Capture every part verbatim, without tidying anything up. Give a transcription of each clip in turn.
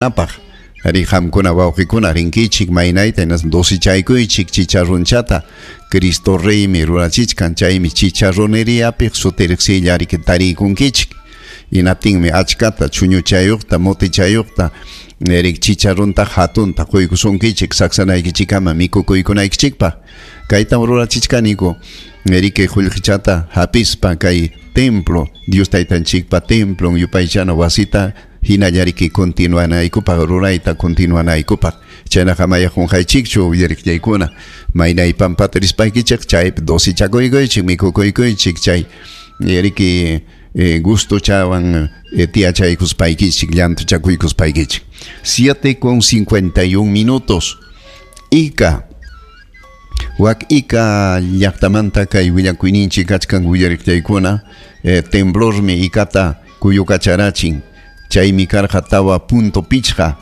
Apaq ari qamkuna wawqikuna rinkichik maynayta hinaspa dosichaykuychik chicharronchata Cristo Reymi rurachichkan chaymi chicharroneriapiq sutiriqsilla riki tariykunkichik hinaptinmi achkata chuñuchayuqta motichayuqta rik chicharronta hatunta quykusunkichik saksanaykichikkama mikukuykunaykichikpaq kaytam rurachichkaniku riki qullqichata hapispa kay templo Dios taytanchikpa templon yupaychana wasita hinallariki continuanaykupaq rurayta continuanaykupaq chaynaqa maya qunqaychikchu uyariqllaykuna maynay pampata rispaykichik chaypi dosichakuykuychik mikukuykuychik chay riki eh, gustochawan eh, tiyachaykuspaykichik llantuchakuykuspaykichik. Siete con cincuenta y un minutos. Ica wak Ica llaqtamanta kay willakuyninchik kachkan willariqllaykuna eh, temblormi Icata kuyukacharachin chaymi karqa tawa punto pichqa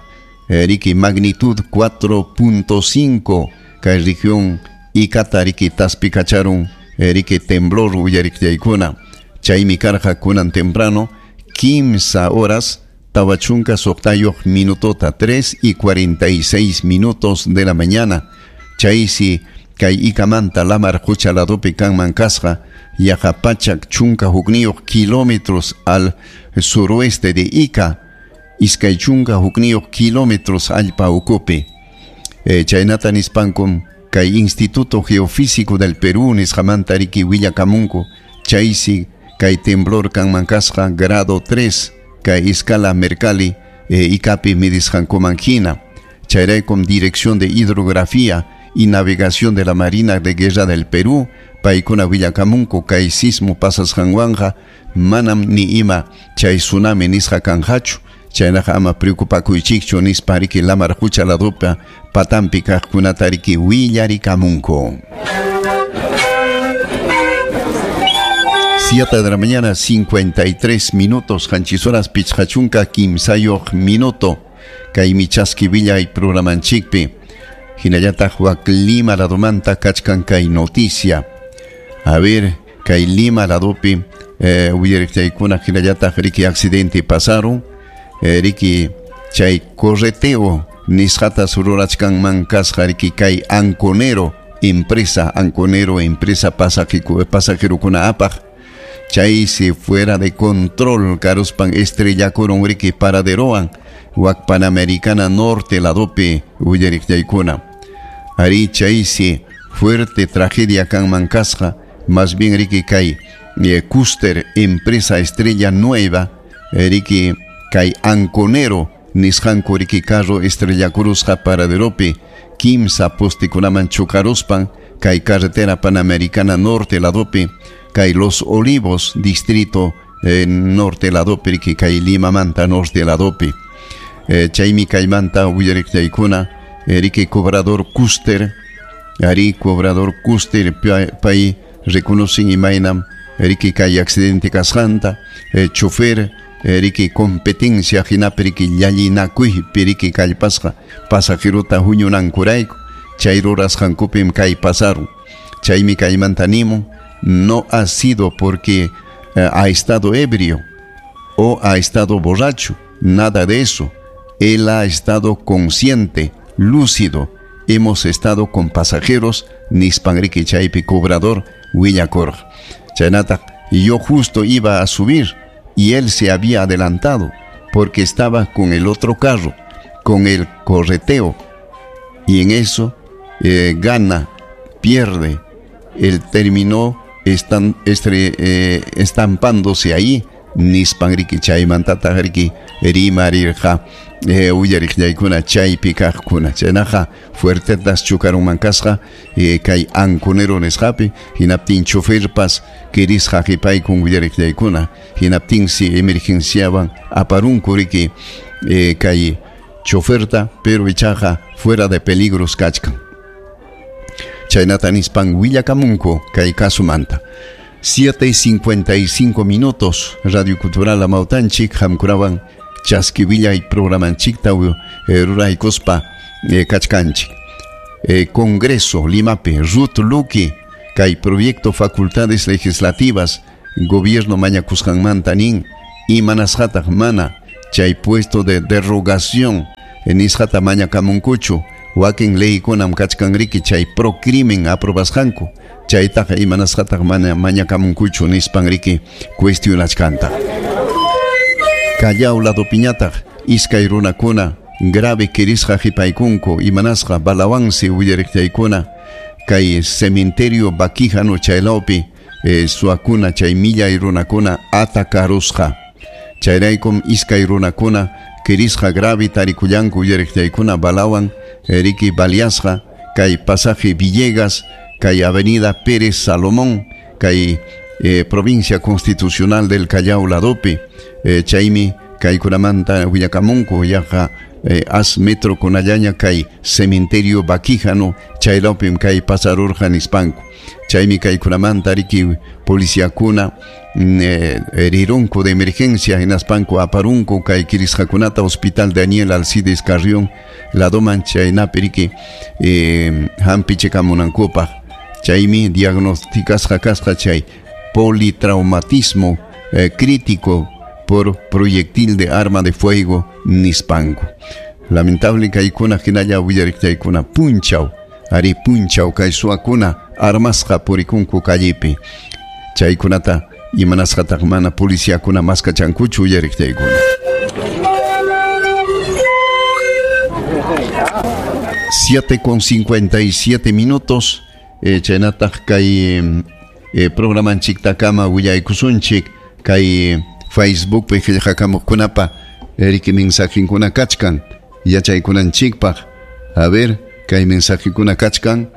eh, riki magnitud cuatro punto cinco kay región Icata riki taspikacharun eh, riki temblor uyariqllaykuna chaymi karqa kunan temprano quince horas tawa chunka suqtayuq minutota tres y cuarenta y seis minutos de la mañana chaysi kay Icamanta lamar qucha ladopi kanman kasqa yaqa pachak chunka hukniyuq kilómetros al suroeste de Ica iskay chunka hukniyuq kilómetros allpa ukupi eh, chaynata nispankum kay Instituto Geofísico del Perú nisqamanta riki willakamunku chaysi kay temblor kanman kasqa grado tres kay escala Mercalli eh, Icapi midisqankuman hina chayraykum Dirección de Hidrografía y Navegación de la Marina de Guerra del Perú paykuna willakamunku kay sismo pasasqanwanqa manam ni ima chay tsunami nisqa kanqachu chaynaqa ama preocupakuychikchu nispa riki lamar qucha ladopa patampi kaqkunata riki willarikamunku. Siete de la mañana, cincuenta y tres minutos, qanchis horas pichqa chunka kimsayuq minuto kaymi chaski willay programanchikpi hinallataq wak Lima ladomanta kachkan kay noticia. A ver, kay Lima ladopi eh, uyariqllaykuna hinallataq riki accidente pasaron eh, riki chay correteo nisqata rurachkanman kasqa riki kay Anconero empresa Anconero empresa pasajerokuna apaq chaysi fuera de control karuspan estrellakurun riki paraderowan wak Panamericana Norte ladopi uyariqllaykuna ari chaysi fuerte tragedia kanman kasqa más bien riki kay eh, Custer empresa Estrella Nueva riki kay Anconero nisqanku riki carro estrellakurusqa paraderopi kimsa postikunaman chukaruspan kay carretera Panamericana Norte ladopi kay Los Olivos distrito eh, norte ladopi riki kay Limamanta norte ladopi eh, chaymi kaymanta willariqllaykuna eh, riki cobrador Custer ari cobrador Custer pay reconocen imaynam riki kay accidente kasqanta eh, chofer riki competencia hinapi riki llallinakuypi riki kallpasqa pasajeruta huñunankurayku chay rurasqankupim kay pasarun chaymi kaymanta nimun no ha sido porque eh, ha estado ebrio o ha estado borracho, nada de eso. Él ha estado consciente, lúcido. Hemos estado con pasajeros nispan riki chaypi cobrador willakurqa chaynataq yo justo iba a subir y él se había adelantado porque estaba con el otro carro, con el correteo, y en eso eh, gana, pierde, él terminó estan, estre, eh, estampándose ahí nispan riki chaymantataq riki rimarirqa eh, uyariqllaykuna chaypi kaqkuna chaynaqa fuertetas chukarunman kasqa eh, kay Anconero nisqapi hinaptin choferpas kirisqa qipaykun uyariqllaykuna hinaptinsi emergenciawan aparunku riki eh, kay choferta pero ichaqa fuera de peligros kachkan chaynata nispan willakamunku kay kasumanta. Siete y cincuenta y cinco minutos Radio Cultural Amautanchik qamkunawan chaski willay programanchikta eh, ruraykuspa eh, kachkanchik eh, Congreso Limapi Ruth Luque kay proyecto Facultades Legislativas gobierno mañakusqanmanta nin imanasqataq mana chay puesto de derrogación nisqata mañakamunkuchu wakin leykunam kachkan riki chay procrimen aprobasqanku chaytaqa imanasqataq mana mañakamunkuchu nispan riki cuestionachkanta. Callao ladopiñataq iskay runakuna grave kirisqa qhipaykunku imanasqa balawansi willariqtaykuna kay cementerio Baquijano chaylawpi eh, suakuna chay millay runakuna atakarusqa chayraykum iskay runakuna kirisqa grave tarikullanku willariqtaykuna balawan riki baliasqa kay pasaje Villegas kay avenida Pérez Salomón kay eh, provincia constitucional del Callao ladopi eh, chaymi kaykunamanta willakamunku yaqa eh, as metro kunallaña kay cementerio Baquijano chaylawpim kay pasarurqa nispanku chaymi kaykunamanta riki policiakuna eh, rirunku de emergencia hinaspanku aparunku kay kirisqakunata hospital Daniel Alcides Carrión ladoman chaynapi riki eh, hampichikamunankupaq chaymi diagnosticasqa kasqa chay politraumatismo eh, crítico por proyectil de arma de fuego nispanku. Lamentable kaykuna hinalla willariqtaykuna punchaw ari punchaw kay suwakuna armasqa purikunku callepi chaykunata imanasqataq mana policiakuna maskachankuchu willariqtaykuna. siete con cincuenta y siete minutos eh, chaynataq kay eh, programanchiktakama willaykusunchik kay Facebook pi qillqakamuqkunapa riki mensajinkuna kachkan yachaykunanchikpaq. A ver kay mensajikuna kachkan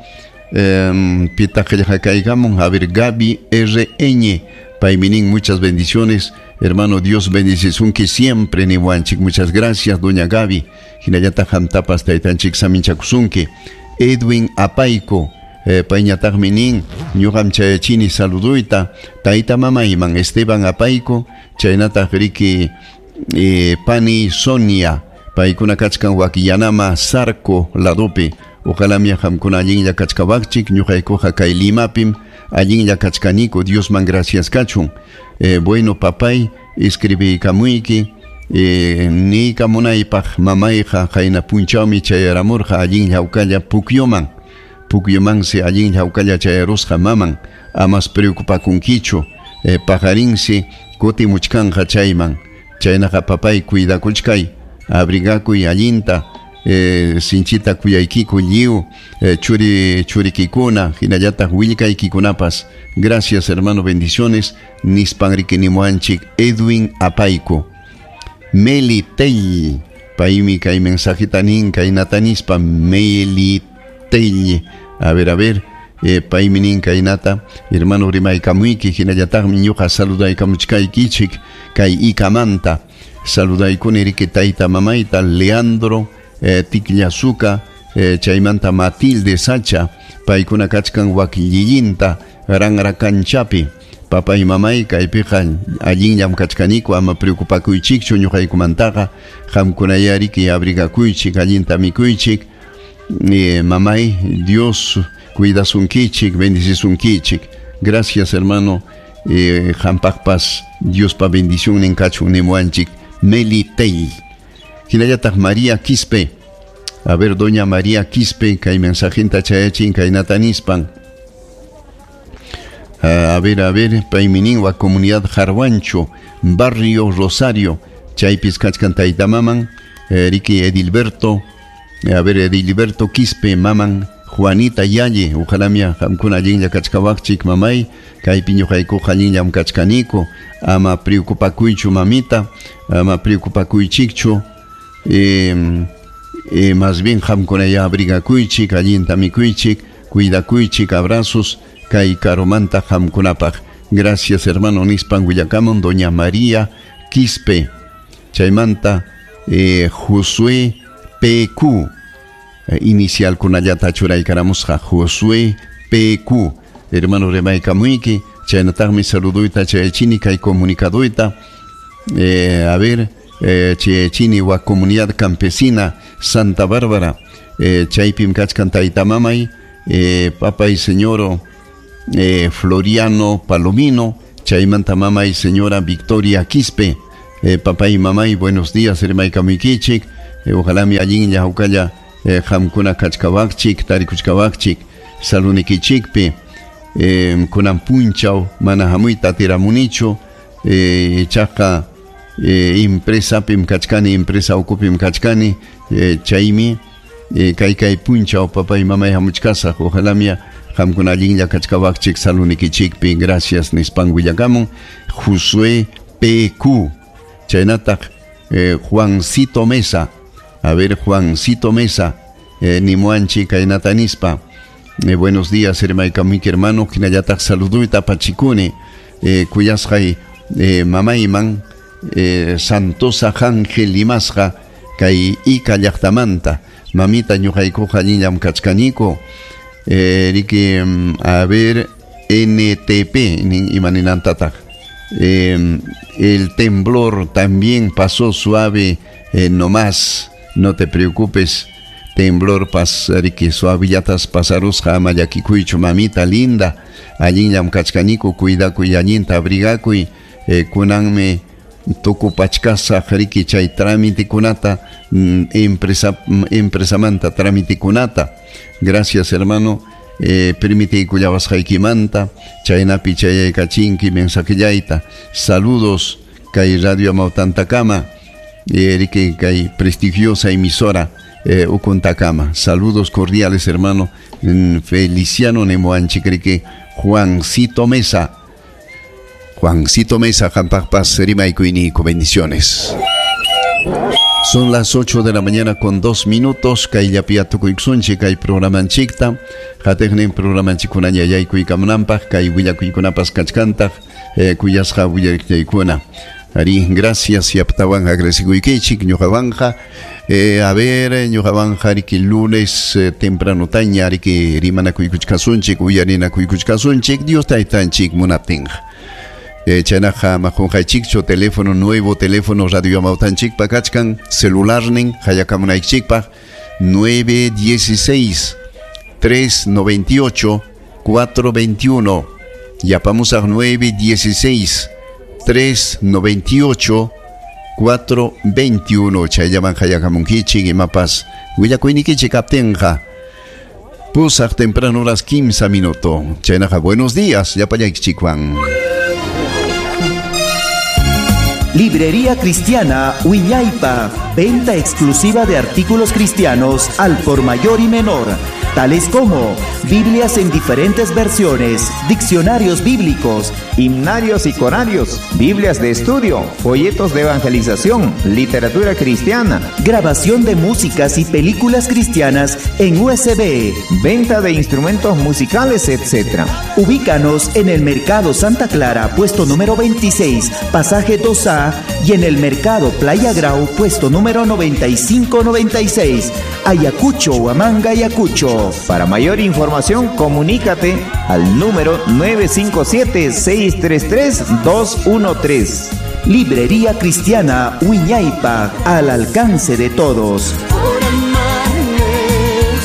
eh, pitaq qillqakaykamun. A ver, Gaby R N paymi nin muchas bendiciones hermano, Dios bendicisunki siempre niwanchik. Muchas gracias doña Gaby, hinallataq qamtapas taytanchik saminchakusunki. Edwin Apayco Eh, payñataqmi nin ñuqam chayachini saluduyta tayta mamayman Esteban Apayco chaynataq riki eh, pani Sonia paykuna kachkan Wakillanama Sarco ladopi. Ojalá qamkuna allinlla kachkawaqchik ñuqaykuqa kay Limapim allinlla kachkaniku, Diosman gracias kachun. Eh, bueno papay escribiykamuyki eh, niykamunaypaq mamayqa qayna punchawmi chayaramurqa allinlla hawkalla Pukyuman Pukyumansi allinlla hawkalla chayarusqa maman amas preocupakunkichu eh, paqarinsi kutimuchkanqa chayman chaynaqa papay cuidakuchkay abrigakuy allinta eh, sinchita kuyaykiku lliw eh, churi churikikuna hinallataq willkaykikunapas. Gracias hermano, bendiciones nispan riki nimuanchik Edwin Apayco. Meli Tell paymi kay mensajita nin kaynata nispa Meli Tell. A ver, a ver, eh, paymi nin kaynata hermano rimaykamuyki hinallataqmi ñuqa saludaykamuchkaykichik kay Ikamanta saludaykuni riki tayta mamayta Leandro eh, Tikllasuka eh, chaymanta Matilde Sacha paykuna kachkan wakillillinta ranrakanchapi. Papay mamay kaypiqa allinllam kachkaniku ama preocupakuychikchu ñuqaykumantaqa qamkunaya riki abrigakuychik allinta mikuychik. Eh, mamay, Dios cuidasunkichik, bendicisunkichik. Gracias hermano, eh, qampaqpas Diospa bendición kachun nimuanchik Meli Tell. Hinallataq María Quispe. A ver, doña María Quispe, kay mensajinta chayachin kaynata nispan. A ver, a ver, paymi nin wa comunidad Jarwancho, barrio Rosario, chaypis kachkan tayta maman, eh, riki Edilberto. A ver, Edilberto Quispe, maman Juanita Yalle, ojalá mia qamkuna allinlla kachkawaqchik mamay, kaypi ñuqaykuqa allinllam kachkaniku, ama preocupakuychu mamita, ama preocupakuychikchu, eh, eh, más bien qamkunaya abrigakuychik, allinta mikuychik, cuidakuychik, abrazos kay karumanta qamkunapaq. Gracias hermano nispan willakamun doña María Quispe. Chaymanta eh, Josué P Q eh, inicial kunallata churaykaramusqa Josué P Q hermano rimaykamuyki chaynataqmi saluduyta chayachini kay comunicaduyta eh, a ver eh, chayachini wa comunidad campesina Santa Bárbara eh, chaypim kachkan tayta mamay eh, papay señoro eh, Floriano Palomino chaymanta mamay señora Victoria Quispe Eh, papá y mamá, y buenos días, rimaykamukichik. Eh, ojalá mi allinlla hawkalla eh, qamkuna kachkawaqchik, tarikuchkawaqchik, salunikichikpi. Eh, kunan punchaw mana hamuyta atiramunichu, eh, ichaqa eh, empresapim kachkani, empresa ukupim kachkani, eh, chaymi eh, kay kay punchaw papá y mamá hamuchkasaq, ojalá mi qamkuna allinlla kachkawaqchik salunikichikpi, gracias nispan willakamun Josué P Q. Chaynataq eh, Juancito Mesa, a ver Juancito Mesa, eh, nimuanchi kaynata nispa. Eh, buenos días, hermano, hermano, hinallataq saluduyta pachikuni, eh, kuyasqay eh, mamayman eh, Santosa Ángel limasqa kay Ica llaqtamanta, mamita ñuqaykuqa allinllam kachkaniku, eh, riki, a ver, N T P nin imaninantataq. Eh, el temblor también pasó suave, eh, no más, no te preocupes. Temblor pas riki suavillatas pasarusqa ama llakikuychu, mamita linda, allinllam kachkaniku, cuidakuy allinta abrigakuy, eh, kunanmi tukupachkasaq riki chay tramitikunata, empresa, empresamanta tramitikunata. Gracias, hermano, eh, permitiykullawasqaykimanta, chaynapi chayaykachinki mensajellayta. Saludos kay Radio Amautantakama, eh, riki kay prestigiosa emisora Eh, Ukuntakama. Saludos cordiales, hermano Feliciano Nemoanchicrique, Juancito Mesa. Juancito Mesa, Jampakpas, Rimaykuinico, bendiciones. Son las ocho de la mañana con dos minutos. Kay llapiatukuyksunchik, kay programanchikta. Hateknin programanchikunaña yaykuykamunanpaq, kay willakuykunapas kachkantaq, eh, kuyasqa willakuykunakuna. Ari, gracias, yaptawan agradecikuykichik, ñuqawanja. Eh, a ver, ñuqawanja, riki lunes eh, temprano taña, riki rimanakuykuchkasunchik, uyarinakuykuchkasunchik, Dios taytanchik munaptinqa. Eh, chaynaqa maqunqaychikchu, teléfono nuevo, teléfono Radio Amautanchikpa kachkan, celularnin, hayakamunaykichikpaq, nueve dieciséis, tres noventa y ocho, cuatro veintiuno. Yapamusaq nueve dieciséis, tres noventa y ocho, cuatro veintiuno. Chayllaman hayakamunkichik, imapas willakuynikichik kaptinqa. Pusaq temprano las quince minutos. Chaynaqa, buenos días, llapallaykichikwan. Librería Cristiana Wiñaypa, venta exclusiva de artículos cristianos al por mayor y menor, tales como Biblias en diferentes versiones, diccionarios bíblicos, himnarios y corarios, Biblias de estudio, folletos de evangelización, literatura cristiana, grabación de músicas y películas cristianas en U S B, venta de instrumentos musicales, etcétera. Ubícanos en el Mercado Santa Clara, puesto número veintiséis, pasaje dos A, y en el Mercado Playa Grau, puesto número noventa y cinco noventa y seis, Ayacucho, Huamanga, Ayacucho. Para mayor información, comunícate al número nueve cinco siete, seis tres tres, dos uno tres. Librería Cristiana Wiñaypa, al alcance de todos. Por amarme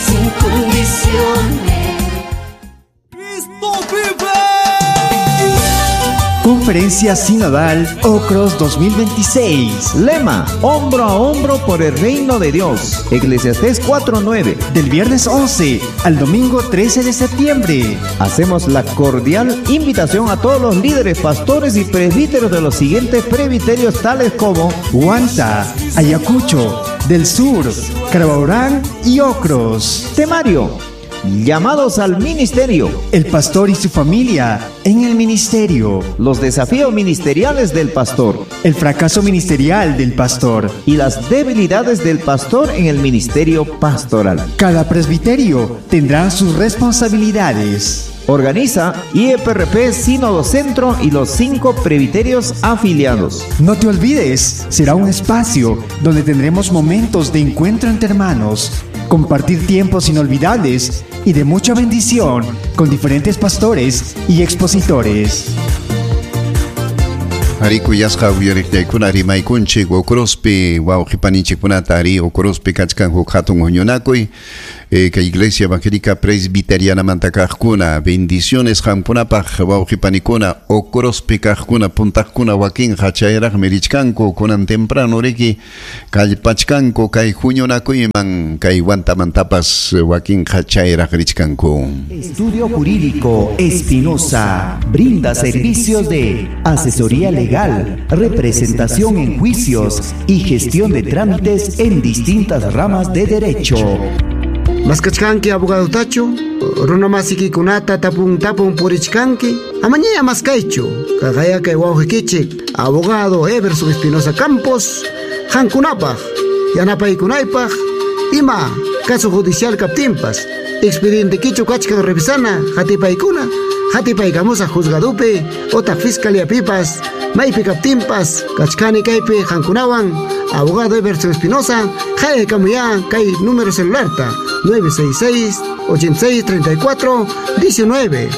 sin condiciones. ¡Cristo vive! Conferencia Sinodal Ocros dos mil veintiséis. Lema, hombro a hombro por el reino de Dios. Eclesiastés cuatro nueve. Del viernes once al domingo trece de septiembre. Hacemos la cordial invitación a todos los líderes, pastores y presbíteros de los siguientes presbiterios tales como Huanta, Ayacucho, del Sur, Carabaurán y Ocros. Temario: llamados al ministerio. El pastor y su familia en el ministerio. Los desafíos ministeriales del pastor. El fracaso ministerial del pastor. Y las debilidades del pastor en el ministerio pastoral. Cada presbiterio tendrá sus responsabilidades. Organiza I E P R P Sínodo Centro y los cinco presbiterios afiliados. No te olvides, será un espacio donde tendremos momentos de encuentro entre hermanos, compartir tiempos inolvidables y de mucha bendición con diferentes pastores y expositores. Ari kuyasqa uyariqllaykuna rimaykunchik Ucrospi wawqipaninchikkunata ari Ucrospi kachkan huk hatun huñunakuy eh, kay Iglesia Evangélica Presbiterianamanta kaqkuna bendiciones qamkunapaq wawqipanikuna Ucrospi kaqkuna puntaqkuna wakinqa chayraqmi richkanku kunan temprano riki kallpachkanku kay huñunakuyman kay Huantamantapas wakinqa chayraq richkanku. Estudio Jurídico Espinosa brinda servicios de asesoría legal, representación en juicios y gestión de trámites en distintas ramas de derecho. Maskachkanki abogado tacho, runamasikikunata tapun tapun purichkanki, amañaya maskaychu, kaqayakay wawqikichik, abogado Everson Espinosa Campos, qankunapaq, yanapaykunaypaq, ima caso judicial kaptinpas, expediente kichu kachkan revisana, hatipaykuna, hatipaykamusa juzgadupi, otaq fiscalía pipas, maypi kaptinpas, kachkani kaypi qankunawan, abogado Everson Espinosa, qayakamuya kay número celularta, nueve seis seis, ochenta y seis, treinta y cuatro, diecinueve.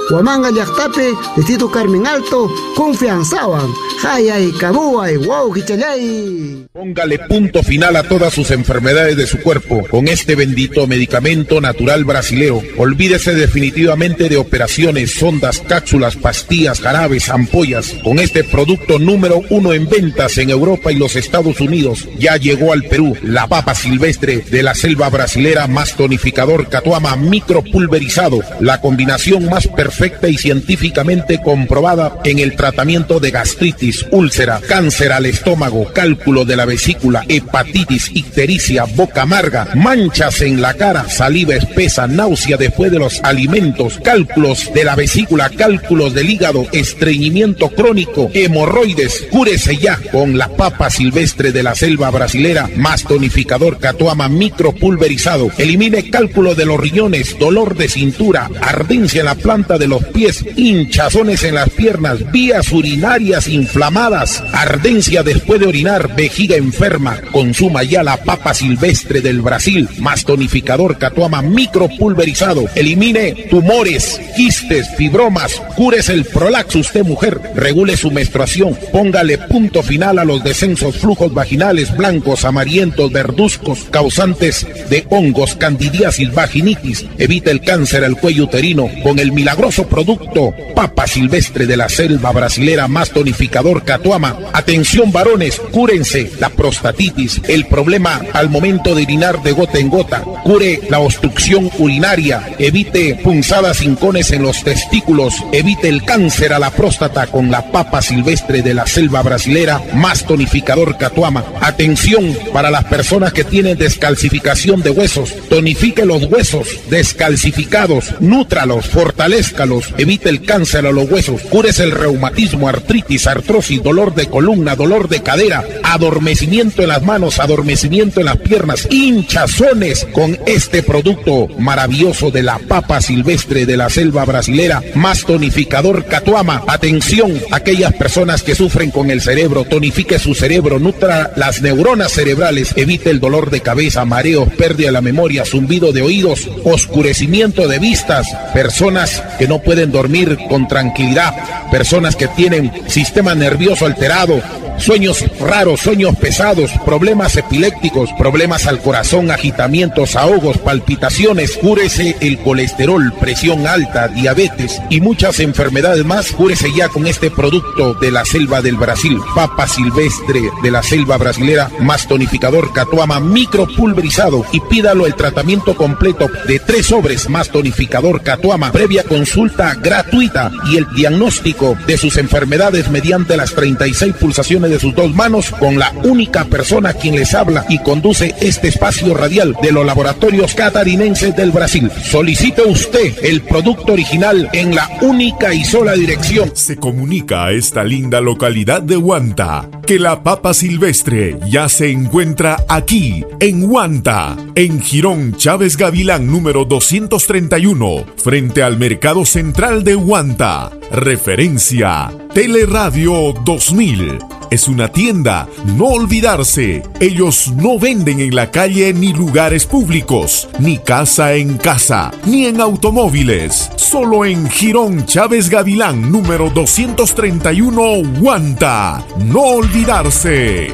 Huamanga llaqtapi, Distrito Carmen Alto, confianzawan, hayay, kabuay, wow, hichalay. Póngale punto final a todas sus enfermedades de su cuerpo con este bendito medicamento natural brasilero. Olvídese definitivamente de operaciones, sondas, cápsulas, pastillas, jarabes, ampollas. Con este producto número uno en ventas en Europa y los Estados Unidos, ya llegó al Perú la papa silvestre de la selva brasilera más tonificador catuama micropulverizado, la combinación más perfecta y científicamente comprobada en el tratamiento de gastritis, úlcera, cáncer al estómago, cálculo de la vesícula, hepatitis, ictericia, boca amarga, manchas en la cara, saliva espesa, náusea después de los alimentos, cálculos de la vesícula, cálculos del hígado, estreñimiento crónico, hemorroides. Cúrese ya con la papa silvestre de la selva brasilera más tonificador catuama micropulverizado. Elimine cálculo de los riñones, dolor de cintura, ardencia en la planta de los pies, hinchazones en las piernas, vías urinarias inflamadas, ardencia después de orinar, vejiga enferma. Consuma ya la papa silvestre del Brasil más tonificador catuama micropulverizado. Elimine tumores, quistes, fibromas, cúrese el prolaxo usted mujer, regule su menstruación, póngale punto final a los descensos, flujos vaginales blancos, amarillentos, verduzcos, causantes de hongos, candidiasis, vaginitis. Evite el cáncer al cuello uterino con el milagroso producto papa silvestre de la selva brasilera más tonificador catuama. Atención varones, cúrense la prostatitis, el problema al momento de orinar de gota en gota, cure la obstrucción urinaria, evite punzadas hincones en los testículos, evite el cáncer a la próstata con la papa silvestre de la selva brasilera más tonificador catuama. Atención para las personas que tienen descalcificación de huesos, tonifique los huesos descalcificados, nútralos, fortalezcalos, evite el cáncer a los huesos, cúrese el reumatismo, artritis, artrosis, dolor de columna, dolor de cadera, adormecimiento en las manos, adormecimiento en las piernas, hinchazones con este producto maravilloso de la papa silvestre de la selva brasilera más tonificador catuama. Atención, aquellas personas que sufren con el cerebro, tonifique su cerebro, nutra las neuronas cerebrales, evite el dolor de cabeza, mareos, pérdida de la memoria, zumbido de oídos, oscurecimiento de vistas, personas que no pueden dormir con tranquilidad, personas que tienen sistema nervioso alterado, sueños raros, sueños pesados, problemas epilépticos, problemas al corazón, agitamientos, ahogos, palpitaciones. Cúrese el colesterol, presión alta, diabetes y muchas enfermedades más. Cúrese ya con este producto de la selva del Brasil, papa silvestre de la selva brasilera más tonificador catuama micropulverizado, y pídalo el tratamiento completo de tres sobres más tonificador catuama, previa consulta gratuita y el diagnóstico de sus enfermedades mediante las treinta y seis pulsaciones de sus dos manos, con la única persona quien les habla y conduce este espacio radial de los laboratorios catarinenses del Brasil. Solicite usted el producto original en la única y sola dirección. Se comunica a esta linda localidad de Huanta que la papa silvestre ya se encuentra aquí, en Huanta, en Jirón Chávez Gavilán número doscientos treinta y uno, frente al Mercado Central de Huanta. Referencia Teleradio dos mil. Es una tienda. No olvidarse. Ellos no venden en la calle ni lugares públicos, ni casa en casa, ni en automóviles. Solo en Jirón Chávez Gavilán, número doscientos treinta y uno, Huanta. No olvidarse.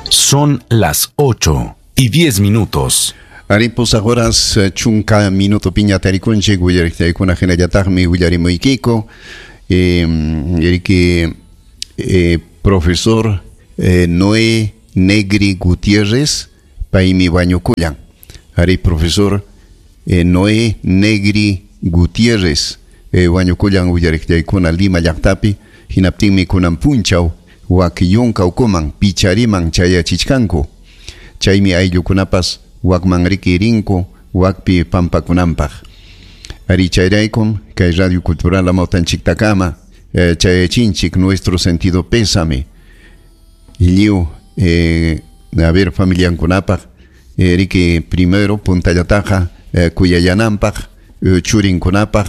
Son las ocho y diez minutos. Aripus horas chunka minuto piña tarikunchik willariqtaykuna hinallataqmi willarimuykiko eh, eriki eh, profesor eh, Noé Negri Gutiérrez paymi wañukullan. Ari profesor eh, Noé Negri Gutiérrez eh, wañukullan willariqtaykuna Lima llaqtapi hinaptinmi kunan punchaw wakiyunka ukuman pichariman chayachichkanku chaymi ayllukunapas wakman riki rinku wakpi pampakunanpaq. Ari chayraykum kay Radio Cultural Amawtanchiktakama eh, chayachinchik nuestro sentido pésame lliw eh, a ver familiankunapaq eh, riki primero puntallataqa eh, kuyayananpaq eh, churinkunapaq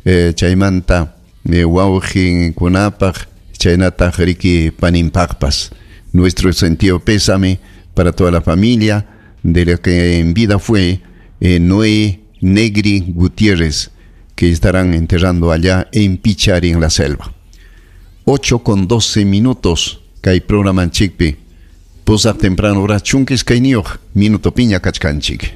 eh, chaymanta eh, wawqinkunapaq chaynataq riki paninpaqpas. Nuestro sentido pésame para toda la familia de lo que en vida fue eh, Noé Negri Gutiérrez, que estarán enterrando allá en Pichari, en la selva. ocho con doce minutos, kay programa chikpi. Pusaq temprano hora chunkis kayniyuq, minuto piña kachkanchik.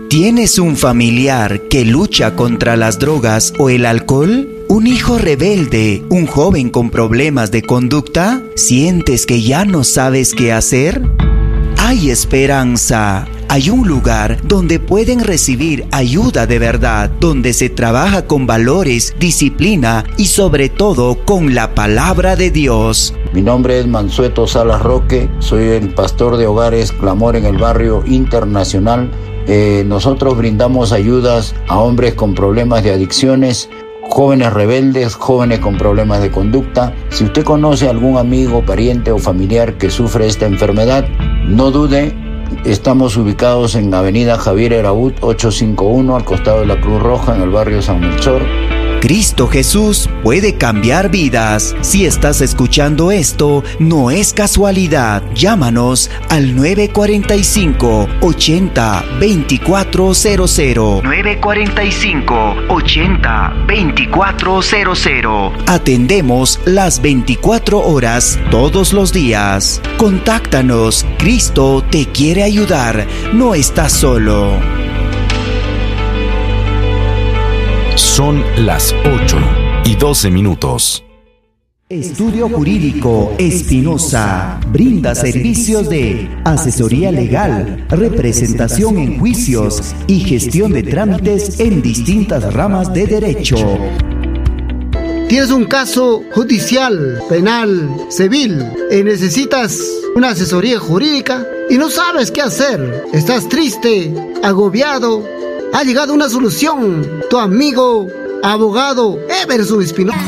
¿Tienes un familiar que lucha contra las drogas o el alcohol? ¿Un hijo rebelde? ¿Un joven con problemas de conducta? ¿Sientes que ya no sabes qué hacer? Hay esperanza. Hay un lugar donde pueden recibir ayuda de verdad, donde se trabaja con valores, disciplina y sobre todo con la palabra de Dios. Mi nombre es Mansueto Salas Roque, soy el pastor de Hogares Clamor en el Barrio Internacional. Eh, nosotros brindamos ayudas a hombres con problemas de adicciones, jóvenes rebeldes, jóvenes con problemas de conducta. Si usted conoce a algún amigo, pariente o familiar que sufre esta enfermedad, no dude. Estamos ubicados en Avenida Javier Eraut ochocientos cincuenta y uno, al costado de la Cruz Roja, en el barrio San Melchor. Cristo Jesús puede cambiar vidas. Si estás escuchando esto, no es casualidad. Llámanos al nueve cuarenta y cinco, ochenta, veinticuatro cero cero. nueve cuarenta y cinco, ochenta, veinticuatro cero cero. Atendemos las veinticuatro horas todos los días. Contáctanos. Cristo te quiere ayudar. No estás solo. Son las ocho y doce minutos. Estudio Jurídico Espinosa brinda servicios de asesoría legal, representación en juicios y gestión de trámites en distintas ramas de derecho. Tienes un caso judicial, penal, civil y necesitas una asesoría jurídica y no sabes qué hacer. Estás triste, agobiado. Ha llegado una solución. Tu amigo, abogado Everson Espinosa.